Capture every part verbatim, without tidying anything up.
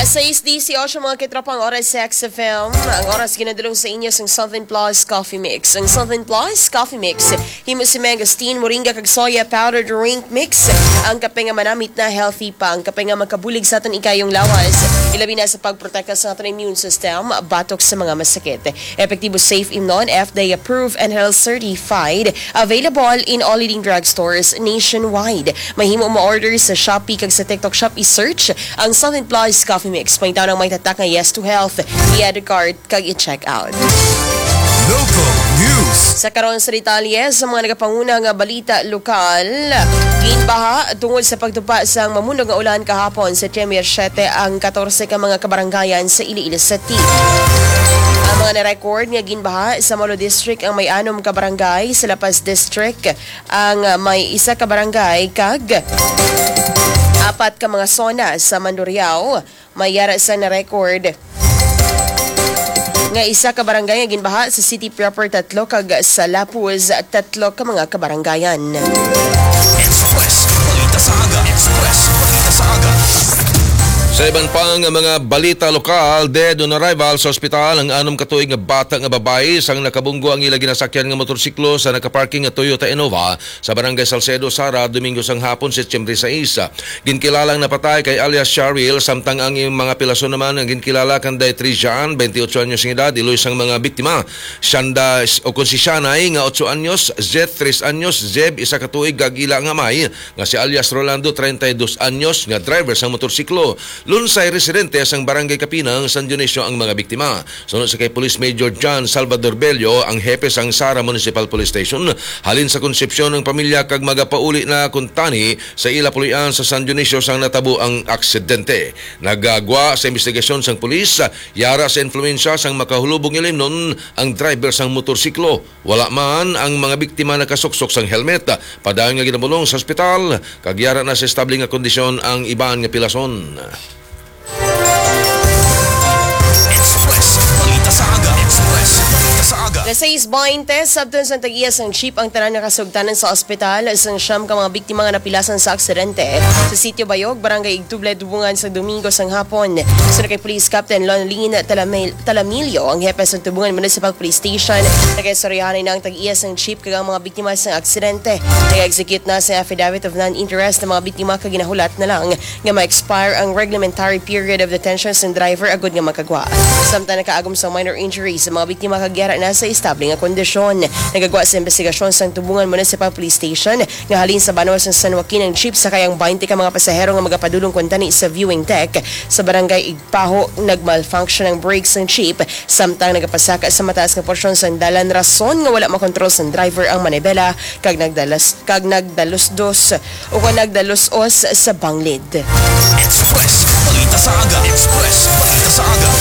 Sais dieciocho, mga katropa, ang oras sa X F M. Ang oras ginadulong sa inyo sang Southern Plus Coffee Mix. Ang Southern Plus Coffee Mix, himo si mangosteen, moringa, kag soya powder drink mix. Ang kape nga manamit na, healthy pa. Ang kape nga makabulig sa aton ikayong lawas, ilabi na sa pagprotekta sa aton immune system batok sa mga masakit. Epektibo, safe, imnon, F D A approved, and health certified. Available in all leading drugstores nationwide. Mahimo ma-order sa Shopee kag sa TikTok Shop. I-search ang Southern Plus Coffee Mix. Pangitaw ang may tatak nga Yes to Health, i-add to cart, kag i-check out. Local news. Sa karon sa detalye sa mga nagapanguna nga balita lokal, ginbaha tungod sa pagtupa sang mamunog nga ulan kahapon, September siete, ang katorse ka mga kabarangayan sa Iloilo City. Ang mga na-record nga ginbaha sa Molo District ang may anom ka barangay, sa La Paz District ang may isa ka barangay, kag apat ka mga zona sa Mandurriao. May yara sa na-record nga isa ka barangay nga ginbaha, sa city proper tatlo, kag sa La Paz tatlo ka mga kabarangayan. Express Balita sa Aga. Express Balita sa Aga. Sa iban pa nga mga balita lokal, dead on arrival sa ospital ang anom ka tuig nga bata nga babayi sang nakabunggo ang ila ginasakyan nga motorsiklo sa nakaparking nga Toyota Innova sa Barangay Salcedo, Sara, Domingo sang hapon, Setyembre sais. Ginkilalang napatay kay alias Cheryl, samtang ang iyang mga pilason naman ang ginkilala kanday Trijan, twenty-eight anyos nga edad, iloy sang mga biktima. Shanda, o kon si Shanay, nga otso anyos, Zeth, tres anyos, Zeb, isa ka tuig, kag ila nga amay, nga si alias Rolando, treinta y dos anyos, nga driver sang motorsiklo. Lunsay residente sang Barangay Kapinang, San Dionisio ang mga biktima. Suno sa kay Police Major John Salvador Bello, ang hepe sang Sara Municipal Police Station, halin sa Concepcion ang pamilya kag magapauli na kuntani sa ila pulian sa San Dionisio sang natabo ang aksidente. Nagagwa sa investigasyon sang pulis, yara sa influensya sang makahulubong ilimnon ang driver sang motorsiklo. Wala man ang mga biktima nakasuksok sang helmet. Padayon nga ginabulong sa ospital, kag yara na sa estable nga kondisyon ang iban nga pilason. Express Balita sa Aga. Express Balita sa Aga. Alas sais baynte, sabton sang tag-iya sang jeep ang tanan nga kasugtanan sa ospital sang siyam ka mga biktima nga napilasan sa aksidente sa Sitio Bayog, Barangay Igtuble, Tubungan, sa Domingo sang hapon. Suno kay Police Captain Lonlin Talamil-, Talamillo, ang hepe sa Tubungan Municipal Police Station, nagaistoryahanay na ang tag-iya sang jeep kag ang mga biktima sang aksidente. Nag-execute na sa affidavit of non-interest ang mga biktima kag ginahulat na lang nga ma-expire ang reglementary period of detention sang driver agud nga makagwa. Samtang nakaagom sa minor injuries ang mga biktima kag yara na sa estable nga kondisyon. Nagagwa sa investigasyon sang Tubungan Municipal Police Station nga halin sa banwa sang San Joaquin ang jeep sakay ang baynte ka mga pasahero nga magapadulong kuntani sa viewing deck sa Barangay Igpaho. Nag-malfunction ang brake sang jeep samtang nagapasaka sa mataas nga porsyon sang dalan, rason nga wala makontrol sang driver ang manibela kag nagdalas kag nagdalusdos o kon nagdalusos sa banglid. Express Balita sa Aga. Express Balita sa Aga.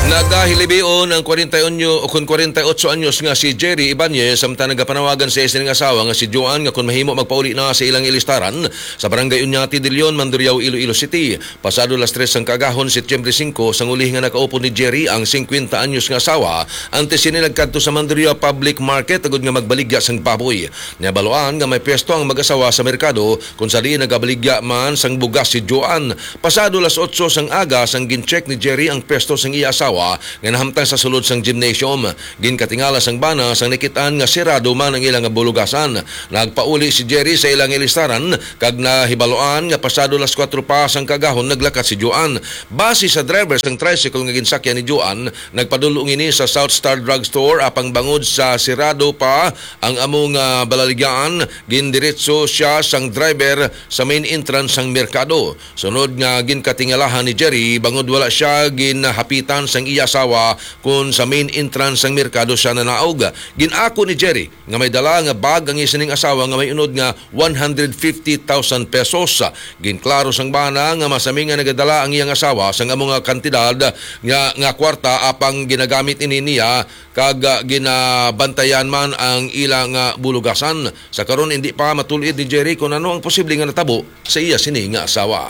Nagahilibion ang kwarenta y uno o kon kwarenta y ocho anyos nga si Jerry Ibanez, samtang nagapanawagan sa iya sining asawa nga si Joan nga kon mahimo magpauli na sa ilang ilistaran sa Barangay Oñate de Leon, Mandurriao, Iloilo City. Pasado las tres sang kaagahon, Setyembre singko, sang uli nga nakaupod ni Jerry ang singkwenta anyos nga asawa, antes sini nagkadto sa Mandurriao Public Market agud nga magbaligya sang baboy. Nabaluan nga may pwesto ang mag-asawa sa merkado, kung sa diin nagabaligya man sang bugas si Joan. Pasado las otso sang aga, sang gin-check ni Jerry ang pwesto sang iya asawa nga nahamtang sa sulod sang gymnasium. Ginkatingala sang bana sang nakit-an nga sirado man ang ila nga bulugasan. Nagpauli si Jerry sa ila nga ilistaran kag nahibaluan nga pasado las kuwatro pa sang kaagahon naglakat si Joan. Base sa driver sang tricycle nga ginsakyan ni Joan, nagpadul-ong ini sa South Star Drugstore, apang bangod sa sirado pa ang amo nga balaligyaan, gindiretso siya sang driver sa main entrance sang merkado. Sunod nga ginkatingalahan ni Jerry, bangod wala siya ginhapitan sang iya asawa kon sa main entrance sang merkado siya nanaog. Gin-ako ni Jerry nga may dala nga bag ang iya sining asawa nga may unod nga one hundred fifty thousand pesos. Ginklaro sang bana nga masami nga nagadala ang iyang asawa sang amo nga kantidad nga, nga kwarta, apang ginagamit ini niya kag, ah, ginabantayan man ang ila nga bulugasan. Sa karon, indi pa matul-id ni Jerry kon ano ang posible nga natabo sa iya sini nga asawa.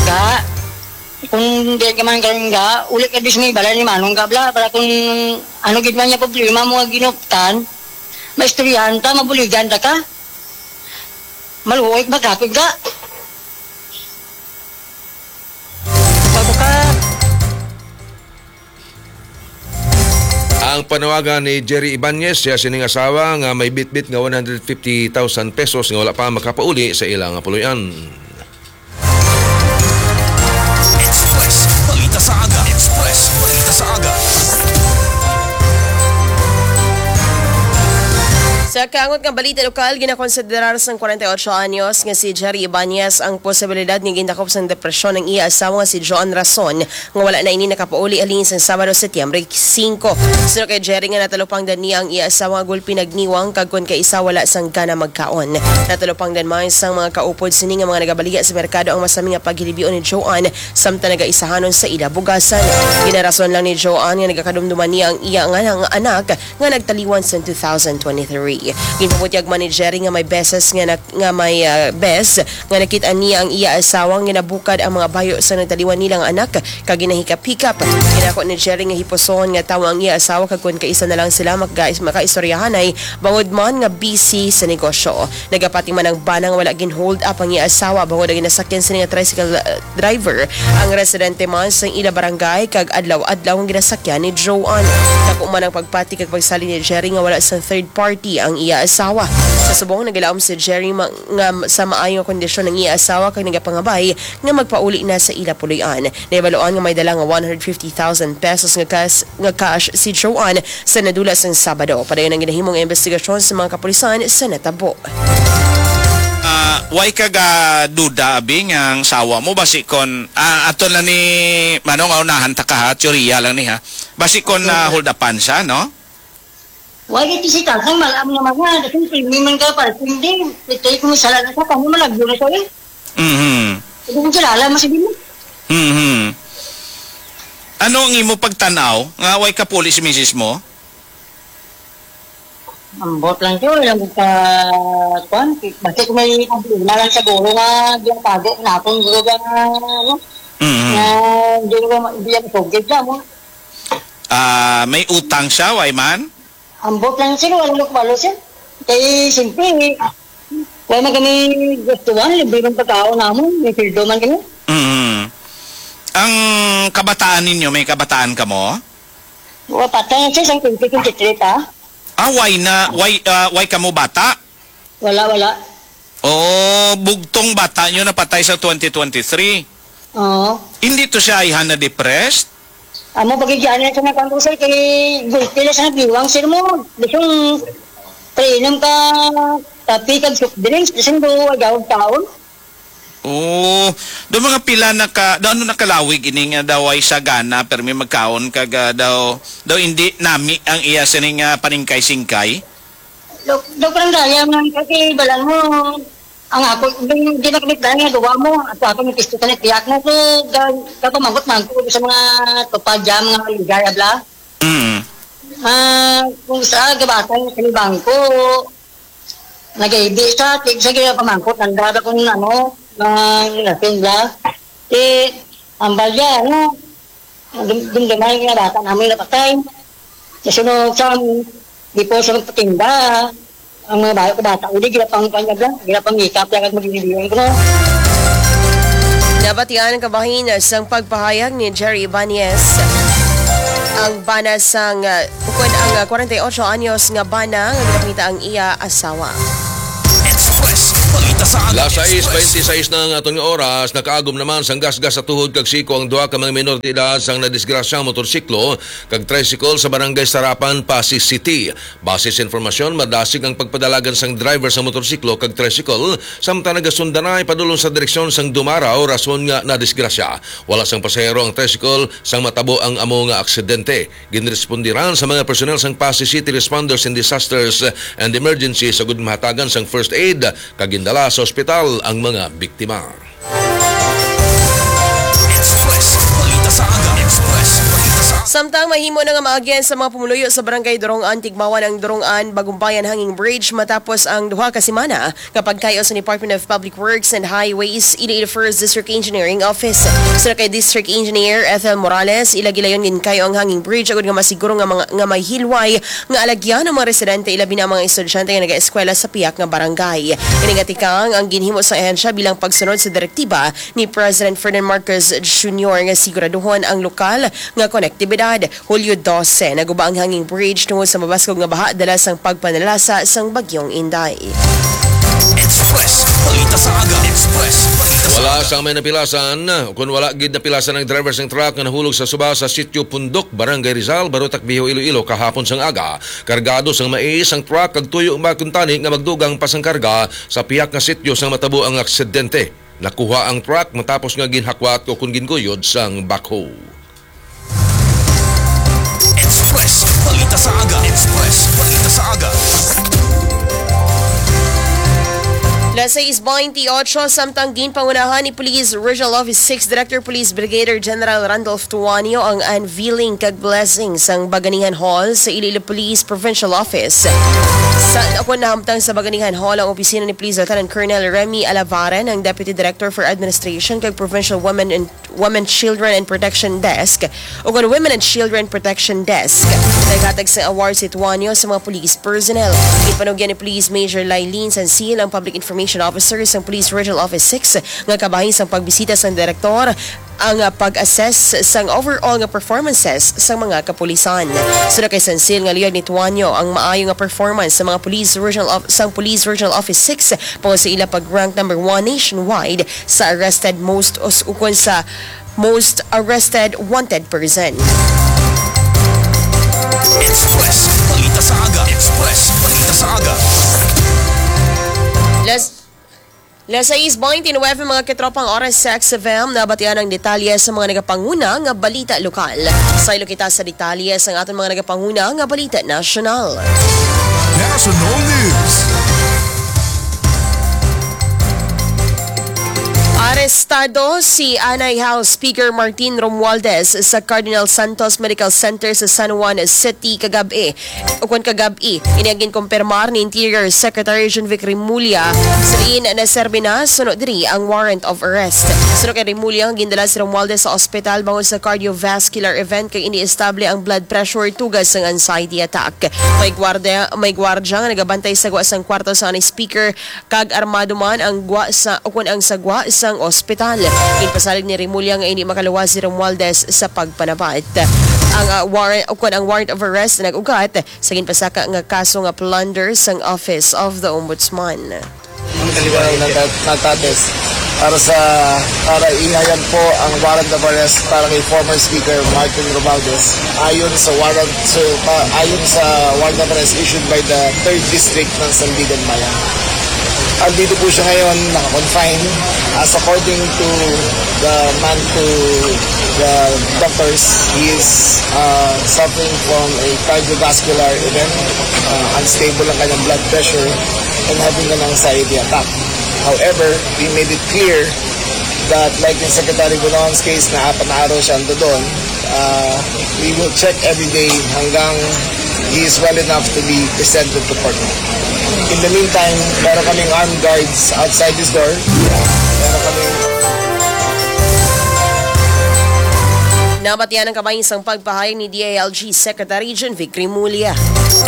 Ga, kung di ka man karon ga, uli ka di sa may balay ni Manong ga, bala, para kung ano gid man niya problema mo nga ginuptan, maistoryahan ta, mabuligan ta ka. Maluoy ka magkapig ga. Ang panawagan ni Jerry Ibanez, siya sining asawa nga may bitbit nga one hundred fifty thousand pesos nga wala pa makapauli sa ila nga puloy-an. Express Balita sa Aga. Express Balita sa Aga. Sa kaangot nga balita lokal, ginakonsiderar sang kwarenta y ocho anyos nga si Jerry Ibanez ang posibilidad nga gindakop sang depresyon ang iya asawa nga si Joan Rason, nga wala na ini nakapauli halin sang Sabado, Setyembre singko. Suno kay Jerry nga natalupangdan niya ang iya asawa nga gulpi nagniwang kag kon kaisa wala sang gana magkaon. Natalupangdan man sang mga kaupod sini nga mga nagabaligya sa merkado ang masami nga paghilibion ni Joan samtang nagaisahanon sa ila bugasan. Ginarason lang ni Joan nga nagakadumduman niya ang iya nga, nga anak nga nagtaliwan sa two thousand twenty-three. Ginpabutyag man ni Jerry nga may beses nga nak-, nga may, ah, bes nga nakit-an niya ang iya asawa nga ginabukad ang mga bayo sa nagtaliwan nila nga anak kag ginahikap-hikap. Ginako ni Jerry nga hipuson nga tawo ang iya asawa kag kon kaisa na lang sila maka-, makaistoryahanay bangod man nga busy sa negosyo. Nagapati man ang bana nga wala gin-hold up ang iya asawa bangod ang ginasakyan sini nga tricycle, ah, driver ang residente man sa ila barangay kag adlaw-adlaw ang ginasakyan ni Joan. Dako man ang pagpati kag pagsalig ni Jerry nga wala sang third party ang iya asawa. Sa subong, nagilaom si Jerry ma-, nga sa maayo nga kondisyon ang iya asawa kag nagapangabay nga magpauli na sa ila puloy-an. Nahibaluan nga may dala nga one hundred fifty thousand pesos nga kas-, nga cash si Joan sa nadula sang Sabado. Padayon ang ginahimong investigasyon sa mga kapulisan sa natabo. Ah, way ka ga duda, abi, nga ang sawa mo, basi kon, ah, ato lang ni, mano nga unahan ta ka, ha, teorya lang ni, ha. Basi kon, ah, hold upan siya, no? Wala ito si Tatang, malam nga mga, kasi hindi man ka para hindi. Ito yung kumisala na siya, kami malagyo na siya eh. Mhm. Hindi ko kilala, mas hindi mo. Mhm. Ano ang imo pagtanaw nga way ka puli si misis mo? Ambot lang siya, walang ka, kwan, basta kung may problema lang sa guro nga, di ang tago, na akong guro nga, ano, Mhm. Nga, di ko ma-, di ang sugid na mo. Ah, may utang siya, way man? Ambot lang sila, wala ko balo, sir. Kay, siyempre, wala man kami gustuhan, libre man pagkaon namon, may sweldo man kami. Mm. Ang kabataan ninyo, may kabataan ka mo? Wa, patay siya, sang twenty twenty-three, ta? Ah, why na, why, ah, why ka mo bata? Wala, wala. Oo, bugtong bata nyo napatay sa twenty twenty-three. Oo. Hindi to siya ayhan na depressed? Amo, pagigyan niya sa nagkang sir, kay gulpi lang sa nagdiwang, sir mo. Gusto yung painom ka, kape kag soft drinks, gusto yung duwa, gawag taon. Oo. Do mga pila na ka, do ano nakalawig ini nga daw ay sagana, pero may magkaon kag, ah, daw, daw hindi nami ang iya sining, ah, paningkay-singkay? Dok-, Dok Ranggaya man, kasi balan mo, ang ako, di, di na kami dahil nga gawa mo, at ako may pisto ka na tiyak mo ko, ga-, kapamangkot man ko sa mga tupad dyan, mga ligay, abla. Mm. Ah, kung sa gabatan kami bangko, nag-ibi sa, tig-, sa gina pamangkot, ang dada kung ano, mga lasin bla. Eh, ang balya, ano, Dum-, dumduman nga bata namin napatay. Sa sunod sa, di po sa magpatinda, ang mga bata, bata, uli, gila pang kanya bla, gila pang makeup, yan ang magbibigyan ko, no? Nabatian ang kabahin sang pagpahayag ni Jerry Ibanez. Ang bana sang, uh, ukon ang, uh, kwarenta y ocho anyos nga bana nga ginapangita ang iya asawa. Express Balita sa Aga. Las sais bente sais na ang aton nga oras. Nakaagom naman sang gasgas sa tuhod kag siko ang duha ka mga minor de edad sang nadisgrasya motorsiklo kag tricycle sa Barangay Sarapan, Passi City. Base sa informasyon, madasig ang pagpadalagan sang driver sa motorsiklo kag tricycle samtang nagasundanay padulong sa direksyon sang Dumaraw, rason nga nadisgrasya. Wala sang pasahero ang tricycle sang matabo ang amo nga aksidente. Ginrespondiran sa mga personnel sang Passi City Responders in Disasters and Emergency sa gud mahatagan sang first aid kag gindala sa ospital ang mga biktima. Express Balita sa Aga. Express Balita sa Aga. Samtang mahimo na nga maagyan sa mga pumuluyo sa Barangay Durong-an, Tigmawan ang Durong-an Bagumbayan Hanging Bridge matapos ang duha ka semana nga pagkayo sa Department of Public Works and Highways, Iloilo First District Engineering Office. Suno kay District Engineer Ethel Morales, ila gilayon ginkayo ang hanging bridge agud nga masiguro nga mga, nga may hilway nga alagyan ang mga residente, ilabi na ang mga estudyante nga nagaeskwela sa pihak nga barangay. Ini nga tikang ang ginhimo sa ahensya bilang pagsunod sa direktiba ni President Ferdinand Marcos Junior nga siguraduhon ang lokal nga konektibidad. Hulyo dose, naguba ang hanging bridge tungod sa mabaskog nga baha dala sang pagpanalasa sang Bagyong Inday. Express Balita sa Aga. Express Balita sa Wala Aga. Sa may napilasan, kung wala gid napilasan ang driver sang truck nga nahulog sa suba sa Sitio Pundok, Barangay Rizal, Barotac Viejo, Iloilo, kahapon sang aga. Kargado sang mais ang truck, kag tuyo ba kuntani nga magdugang pa sang karga sa pihak nga sitio sang matabo ang aksidente. Nakuha ang truck matapos nga ginhakwat o kon ginguyod sang backhoe. Express Balita sa Aga. Express Balita sa Aga. Las sais bainti otso, samtang ginpangunahan ni Police Regional Office six Director Police Brigadier General Randolph Tuanio ang unveiling kag blessing sang Baganihan Hall sa Iloilo Police Provincial Office. Sa akon nahamtang sa Baganihan Hall ang opisina ni Police Lieutenant Colonel Remy Alavaren, ang Deputy Director for Administration kag Provincial Women and Women, Children, and Protection Desk, o kon Women and Children Protection Desk. Naghatag sa award si Tuanyo sa mga police personnel. Ginpanugyan ni Police Major Lylene Sansil, ang Public Information Officer sa Police Regional Office six, nga kabahin sang pagbisita sang direktor ang, ah, pag-assess sang overall nga performances sang mga kapulisan. Suno kay Sansil nga luyag ni Tuanyo ang maayo nga performance sa mga police regional of, sang Police Regional Office six, tungod sa ila pag-rank number one nationwide sa arrested most us-, ukon sa most arrested wanted person. Express Balita sa Aga. Express Balita sa Aga. Las, las sais bainti nuwebe, mga katropang oras sa X F M, nabatian ang detalye sa mga nagapanguna nga balita lokal. Saylo kita sa detalye sa aton mga nagapanguna nga balita nasyonal. National News. Arestado si Anay House Speaker Martin Romualdez sa Cardinal Santos Medical Center sa San Juan City kagab-i, ukon kagab-i. Ini ang ginkumpirmar ni Interior Secretary John Vic Remulla. Sa diin naserbi na suno diri ang warrant of arrest. Suno kay Remulla, gindala si Romualdez sa ospital bangod sa cardiovascular event kag iniestable ang blood pressure tungod sang anxiety attack. May gwardiya, may gwardya nga nagabantay sa gwa sang kwarto sang Anay Speaker kag armado man ang gwa sa, ukon ang sa gwa sang ospital. Ginpasalig ni Remulla nga indi makaluwas si Romualdez sa pagpanabat. Ang, ah, warrant, ukon ang warrant of arrest nag-ugat sa ginpasaka nga kaso nga plunder sang Office of the Ombudsman. Ang kaliwat na ta-, natates para sa, para ihayag po ang warrant of arrest para kay former Speaker Martin Romualdez. Ayon sa warrant, so, pa-, ayon sa warrant of arrest issued by the third District ng Sandigan Bayan. Andito po siya ngayon, naka-confine. As according to the man, to the doctors, he is, uh, suffering from a cardiovascular event. Uh, unstable ang kanyang blood pressure and having an anxiety attack. However, we made it clear that, like in Secretary Bunoan's case, na apat na araw siya ando doon, uh, we will check every day hanggang he is well enough to be presented to court. In the meantime, meron kaming armed guards outside his door. Meron kaming Nabatian ang kabahin sang pagpahayag ni D I L G Secretary John Vic Remulla.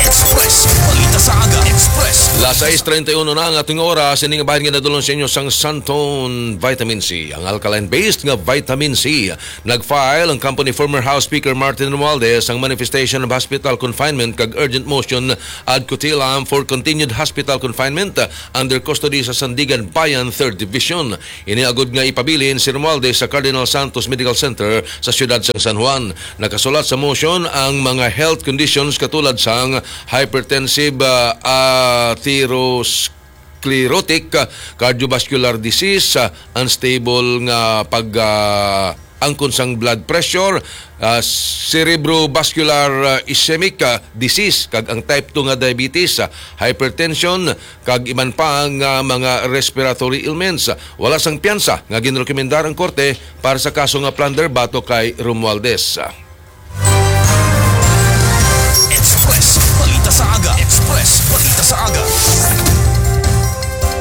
Express Balita sa Aga. Express. Las sais treinta y uno na ang ating oras. Ini nga bahin nga nadulong sa inyo sang Santon Vitamin C, ang alkaline-based nga vitamin C. Nag-file ang kampo ni former House Speaker Martin Romualdez sang manifestation of hospital confinement kag urgent motion ad cautelam for continued hospital confinement under custody sa Sandigan Bayan, Third Division. Ini agud nga ipabilin si Romualdez sa Cardinal Santos Medical Center sa siyudad sang San Juan. Nakasulat sa motion ang mga health conditions katulad sang hypertensive, ah, atheros-, sclerotic, ah, cardiovascular disease, ah, unstable nga pag, ah, angkon sang blood pressure, ah, cerebrovascular, ah, ischemic, ah, disease, kag ang type two nga diabetes, ah, hypertension, kag iban pa nga mga respiratory ailments. Wala sang piyansa nga ginrekomendar ang korte para sa kaso nga plunder batok kay Romualdez. Express Balita sa Aga. Express Balita sa Aga.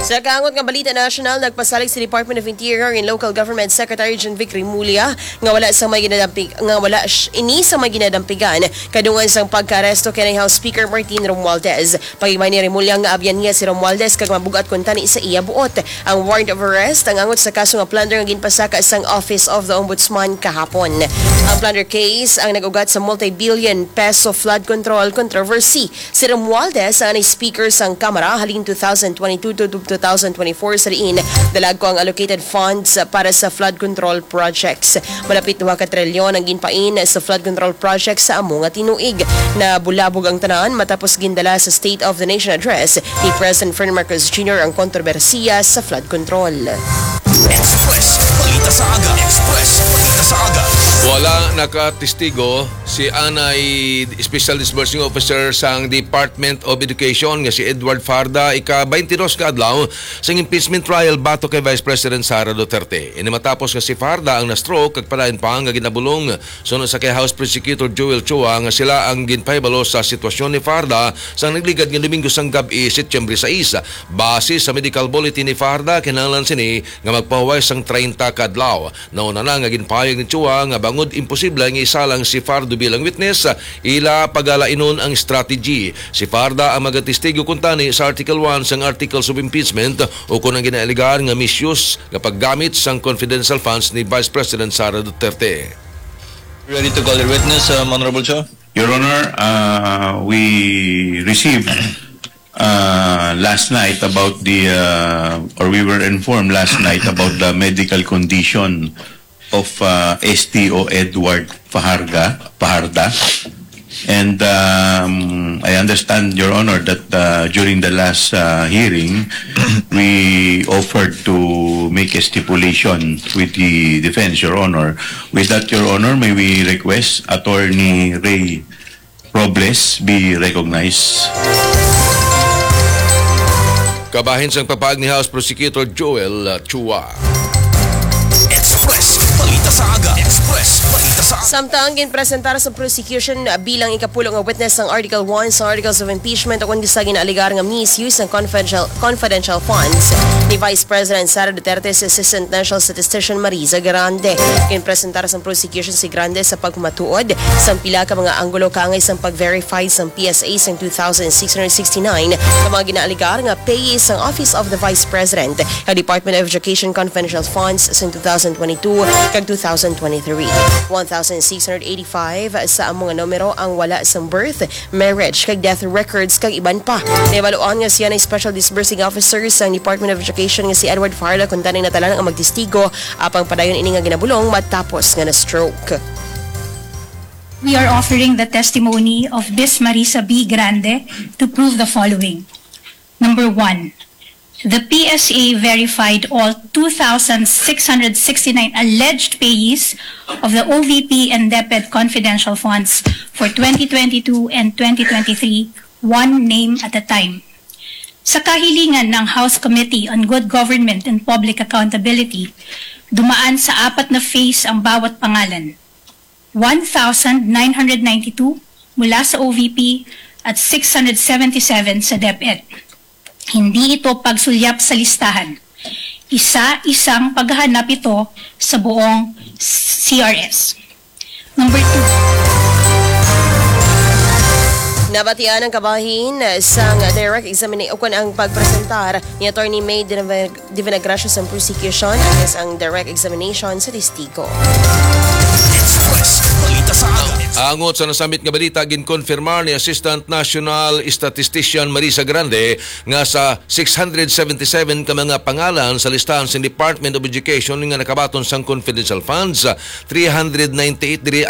Sa kaangot nga balita nasyonal, nagpasalig si Department of Interior and Local Government Secretary John Vic Remulla nga wala sa may ginadampig nga wala sh- ini sa may ginadampigan kadungan sang pagkaaresto kay House Speaker Martin Romualdez. Pagibay ni Remulla nga abyan niya si Romualdez kag mabugat kuntani sa iya buot. Ang warrant of arrest ang angot sa kaso nga plunder nga ginpasaka sang Office of the Ombudsman kahapon. Ang plunder case ang nag-ugat sa multi-billion peso flood control controversy. Si Romualdez ang speaker sang Kamara halin two thousand twenty-two to two thousand twenty-four, sa diin dalagko ang allocated funds para sa flood control projects. Malapit duha ka trilyon ang ginpain sa flood control projects sa amo nga tinuig. Nabulabog ang tanan matapos gindala sa State of the Nation Address ni President Ferdinand Marcos Junior ang kontrobersiya sa flood control. Express Balita sa Aga. Express Balita sa Aga. Wala nakatestigo si anay Special Disbursing Officer sang Department of Education nga si Edward Fajarda ika twenty-two ka adlaw sang impeachment trial batok kay Vice President Sara Duterte. Ini matapos nga si Fajarda ang na-stroke kag padayon pa nga ginabulong suno sa kay House Prosecutor Joel Chua nga sila ang ginpahibalo sa sitwasyon ni Fajarda sa nagligad nga Domingo sang gab-i, Setyembre sais. Base sa medical bulletin ni Fajarda, kinahanglan sini nga magpahuway sang treinta ka adlaw. Nauna na nga ginpahayag ni Chua nga bangod imposible nga isalang si Fajardo bilang witness, ila pagalainon ang strategy. Si Fajarda ang magatestigo kuntani sa Article one sang Articles of Impeachment ukon ang ginaalegar nga misuse nga paggamit sang confidential funds ni Vice President Sara Duterte. Ready to call your witness, um, Honorable Cho? Your Honor, uh, we received uh, last night about the, uh, or we were informed last night about the medical condition of uh, S T O Edward Fajarga, Fajarda. And um, I understand, Your Honor, that uh, during the last uh, hearing, we offered to make a stipulation with the defense, Your Honor. With that, Your Honor, may we request Attorney Ray Robles be recognized. Kabahin sang pagpahayag ni House Prosecutor Joel Chua. Express Balita sa Aga. Express Balita sa Aga. Samtang ginpresentar sa prosecution bilang ikapulo nga witness ang Article one sa Articles of Impeachment ukon sa ginaalegar nga misuse ng confidential, confidential funds ni Vice President Sara Duterte si Assistant National Statistician Marisa Grande. Ginpresentar sa prosecution si Grande sa pagpamatuod sang pila ka mga anggulo kaangay sang pag-verify sang P S A sang two thousand six hundred sixty-nine ka mga ginaalegar nga payee sang Office of the Vice President kag Department of Education confidential funds sang two thousand twenty-two kag two thousand twenty-three. One thousand six hundred eighty-five sa amo nga numero ang wala sang birth, marriage, kag death records, kag iban pa. Nahibaluan nga siya na special disbursing officer sang Department of Education nga si Edward Fajarda, kuntani natalang ang magtestigo, apang padayon ini nga ginabulong matapos nga na-stroke. We are offering the testimony of Miss Marisa B. Grande to prove the following. Number one, the P S A verified all two thousand six hundred sixty-nine alleged payees of the O V P and DepEd confidential funds for twenty twenty-two and twenty twenty-three, one name at a time. Sa kahilingan ng House Committee on Good Government and Public Accountability, dumaan sa apat na phase ang bawat pangalan. One thousand nine hundred ninety-two mula sa O V P at six hundred seventy-seven sa DepEd. Hindi ito pagsulyap sa listahan. Isa-isang paghahanap ito sa buong C R S. Number two. Nabatian ang kabahin sang direct examination ukon ang pagpresentar ni Attorney May Divinagracia sang prosecution against ang direct examination sa testigo. Express Balita sa Aga. Angot sa nasambit nga balita, ginkonfirmar ni Assistant National Statistician Marisa Grande nga sa six hundred seventy-seven ka mga pangalan sa listahan sa Department of Education nga nakabaton sang confidential funds, three hundred ninety-eight diri